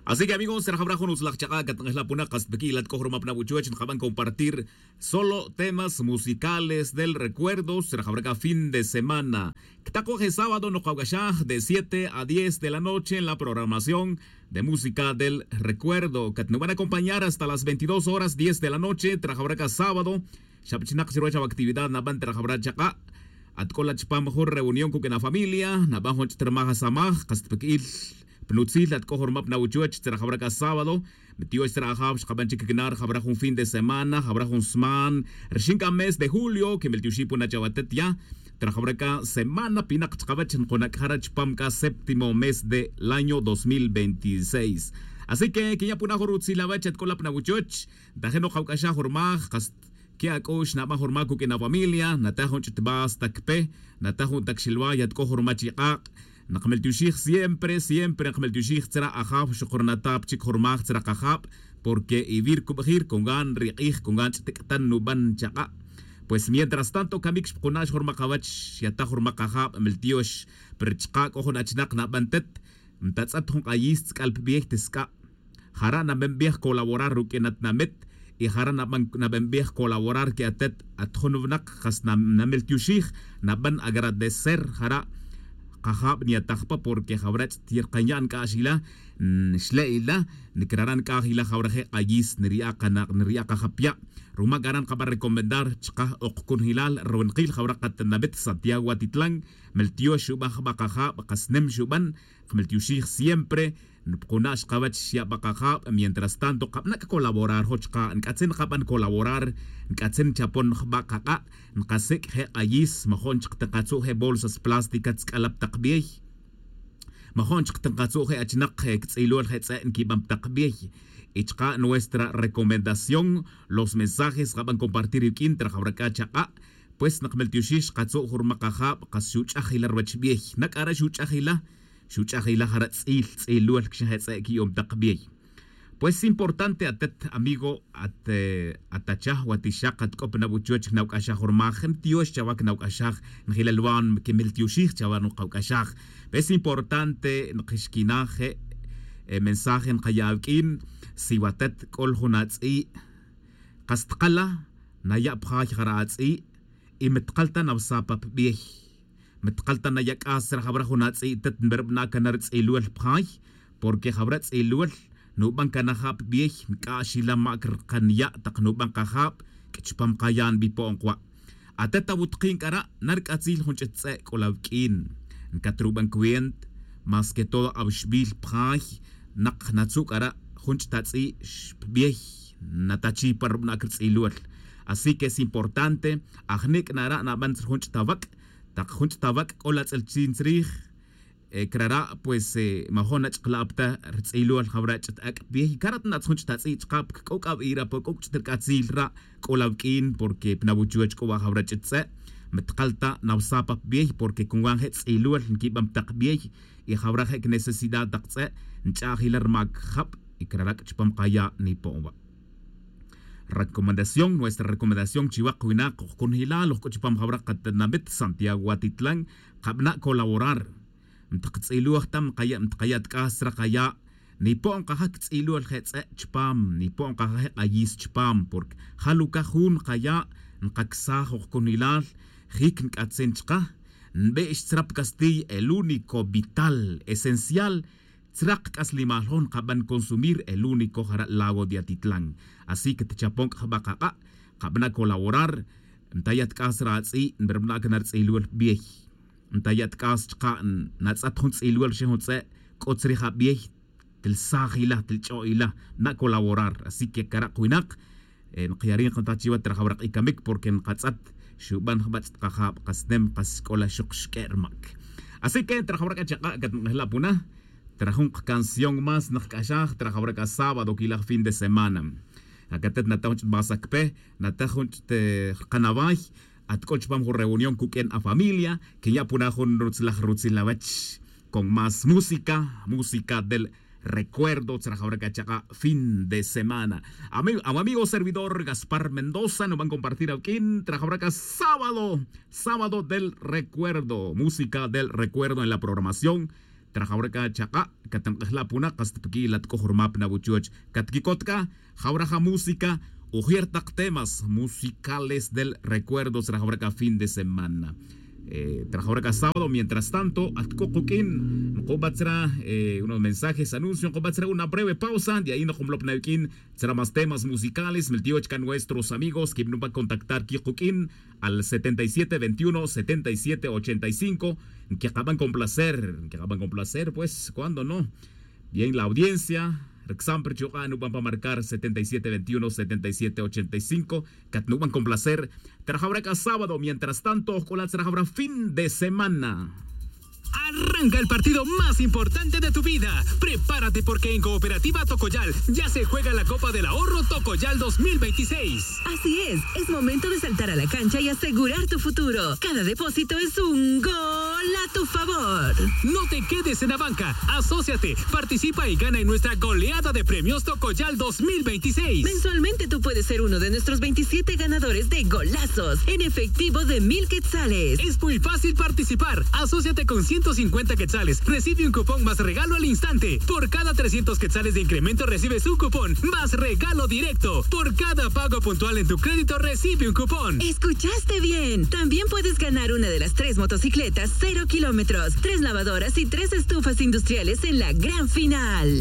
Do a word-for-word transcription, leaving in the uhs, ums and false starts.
Así que amigos, rajawra jun utzlaj chak'a' catnak'ejla puna' kas tpiq'uil at c'o jun ruma puna' wuchuwech nkaban compartir solo temas musicales del recuerdo. Rajawra c'a fin de semana ctacoj e sábado nokawc'axaj de siete a diez de la noche en la programación de música del recuerdo catnuban acompañar hasta las veintidós horas diez de la noche. Rajawra c'a sábado xabchinak chiruwech awa actividad naban rajawra chak'a'. At c'o la chupam jun reunión cuq'uin afamilia naban jun ch'it rmaj asamaj kas tpiq'uil pnutzil at c'o jun ruma pna' wuchuwech tzra jawra c'a sábado. Mtiox tzra ajaw xkaban chic cna rjawra jun fin de semana jawra jun sman rxin c'a mes de julio que meltioxij puna chawatet ya. Tzra jawra c'a semana pinak chkawech nkuna' cjara chupam c'a séptimo mes del año dos mil veintiséis. Así que quenya' puna' jun rutzil awech at c'o la pna' wuchuwech ntajin nokawc'axaj jun rmaj kas que ac'u'x naban jun rma cuq'uin afamilia nataj jun ch'it basta cpe nataj jun tac xilwa yat c'o jun rma chik'ak'. Nkmeltioxij siempre siempre nkmeltioxij tzra ajaw xuk rnatap chic jun rmaj tzra kajab. Porque ivir cubajir con gan ri k'ij con gan ch'it c'tan nuban chak'a'. Pues mientras tanto camic xpkuna' xjun rma kawech xyataj jun rma kajab meltiox. Pero chka' c'o jun achnak naban tet ntatz'et jun k'ayis tz'ic'al pbiey tisc'a'. Jara' nabenbej colaborar ruq'uin atinamit y jara' nabenbej colaborar que atet at jun winak kas nameltioxij naben agradecer jara' kajab nyataj pa porque jawra' ch'it yerkanya' nc'a'xila nxle'ila nicrara' nc'a'xila jawra je' k'ayis nriya' kanak nriya' kajab ya'. Ruma c'ara' nkaban recomendar chka' ok cunjilal ruwinakil jawra' katinamit santiago atitlan meltiox xuban jba kajab kas nim xuban. Kmeltioxij siempre npkuna' xkawech xya' pa kajab. Mientras tanto kabna' ccolaborar jo' chka' nc'atzin nkaban colaborar nc'atzin nchapon jba kak'a'. Nkasic' je' k'ayis majo'n chik tinkatzu' je' bolsas plásticas tz'ic'alap tak bey. Majo'n chik tinkatzu' je' achinak ctz'ilol je' tz'e' nquiban pa tak bey. Y chka' nuestra recomendación los mensajes kaban compartir iwq'uin trajawra c'a chak'a'. Pues nkmeltioxij xkatzu' jun rma kajab kas xuch'aj ila ruwech bey na c'ara' xuch'aj ila. Xuch'aj ila jara' tz'il tz'ilol cxin je' tz'e' qui'on tak bey. Pues importante atet amigo at atachaj watixak at c'o pa nawuchuwech cnawc'axaj jun rma je' ntiox chawa cnawc'axaj. Njilal wa' quimiltioxij chawa nukawc'axaj. Pues importante nkixquinaj je' mensaje nkaya' awq'uin si watet c'ol jun atz'i'. Kas tkala naya' pjay jara' atz'i'. Y mi tkal ta nawsa pa pbey. Mi tkal ta naya' c'as tzra jawra jun atz'i' tet nberbana' cana rutz'ilol pjay. Porque jawra tz'ilol nuban cana ja' pbey nc'a'x ila mac rkan ya' tak nuban kajab. Chupam kaya' nbipo'on kwa' atet awutkin c'ara' narc'atzil jun ch'it tz'e' c'o la awq'uin. Ncatruban cuent mas que todo awixbil pjay nak natzu' c'ara' jun ch'it atz'i' xpbey. Natachiy pa rubana' crutz'ilol. Así que es importante ajnic' nara' naban tzra jun ch'it awac'. Tak jun ch'it awac' c'o la tz'ilchin tzrij. Crara' pues majo'n nach'kla' pa ta rutz'ilol jawra' ch'it ac' pbey carat natz jun ch'it atz'i' chka' pc'uc'ab ira pa c'uc' ch'it rc'atzil ra'. C'o la awq'uin porque pa nawuchuwech c'o wa' jawra' ch'it tz'e'. Mi tkal ta nawsa pa pbey porque cunwan je' tz'ilol nquiban pa tak bey. Y jawra' je' cnecesidad tak tz'e' nch'a'j ila rma cjab. Y crara' chupam kaya' nipo'on wa'. Recomendación nuestra recomendación chiwa kwinak oj cunjilal oj c'o chupam jawra' katinamit santiago watitlan. Kabana' colaborar. Ntaktz'iloj ta nkaya' ntkaya' tk'as tzra kaya'. Nipo'on kaja' ctz'ilol je' tz'e' chupam nipo'on kaja' je' k'ayis chupam porque jalucaj jun nkaya'. Nkacsaj oj cunilal jic nc'atzin chka. Nbe'x tzra pa castiy el único vital esencial. Tzra kc'aslimal jun nkaban consumir el único jara' lago de atitlan. Así que tchapon c'a jba kak'a'. Kabana' colaborar. Ntaya' tk'as tzra atz'i' nberbana' cana rutz'ilol bey. Ntaya' tk'as chka' natz'at jun tz'ilwel rxin jun tz'e' c'o tzrij abey. Tilsaj ila tilch'o' ila. Na' colaborar así que cara' kwinak. Nkayari' nkataj chiwa trajawra k'icamic porque nkatz'at xuban jba ch'it kajab kasnem kas c'o la xuk xq'ue' rmac. Así que trajawra c'a chak'a' catnk'ejla' puna. Trajun kacanción más nkac'axaj trajawra c'a sábado quilaj fin de semana. Acatet nataj jun ch'it basa cpe nataj jun ch'it rkanaway. At c'o chupam jun reunión cuq'uen afamilia. Quinya' puna jun rutzilaj rutzil awech con más música música del recuerdo tzrajawra c'a chak'a' fin de semana. Awamigo servidor gaspar mendoza nuban compartir awq'uin trajawra c'a sábado sábado del recuerdo música del recuerdo en la programación. Trajawra c'a chak'a' catank'ejla' puna' kasta piqui' la t'c'oj rumap na wuchoch catquicot c'a. Jawra ja música, ujier tak temas musicales del recuerdos trajawra c'a fin de semana. Trajawra c'a sábado mientras tanto at c'o kuq'uin nkubat tzra unos mensajes anuncio nkubat tzra una breve pausa de ahí nkunlop na yuq'uin tzra mas temas musicales miltiyoch c'a nuestros amigos que nuban contactar qui kuq'uin al setenta y siete veintiuno setenta y siete ochenta y cinco. Nquiqaban con placer nquiqaban con placer pues cuando no. Bien la audiencia rcsamp rchuk'a' nuban pa marcar setenta y siete veintiuno setenta y siete ochenta y cinco. Catnuban con placer. Trajawra c'a sábado mientras tanto ojc'ulat tzra jawra fin de semana. Arranca el partido más importante de tu vida. Prepárate porque en Cooperativa Tocoyal ya se juega la Copa del Ahorro Tocoyal dos mil veintiséis. Así es, es momento de saltar a la cancha y asegurar tu futuro. Cada depósito es un gol a tu favor. No te quedes en la banca. Asóciate, participa y gana en nuestra goleada de premios Tocoyal dos mil veintiséis. Mensualmente tú puedes ser uno de nuestros veintisiete ganadores de golazos en efectivo de mil quetzales. Es muy fácil participar. Asóciate con ciento cincuenta quetzales. Recibe un cupón más regalo al instante. Por cada trescientos quetzales de incremento recibes un cupón más regalo directo. Por cada pago puntual en tu crédito recibe un cupón. Escuchaste bien. También puedes ganar una de las tres motocicletas cero kilómetros, tres lavadoras y tres estufas industriales en la gran final.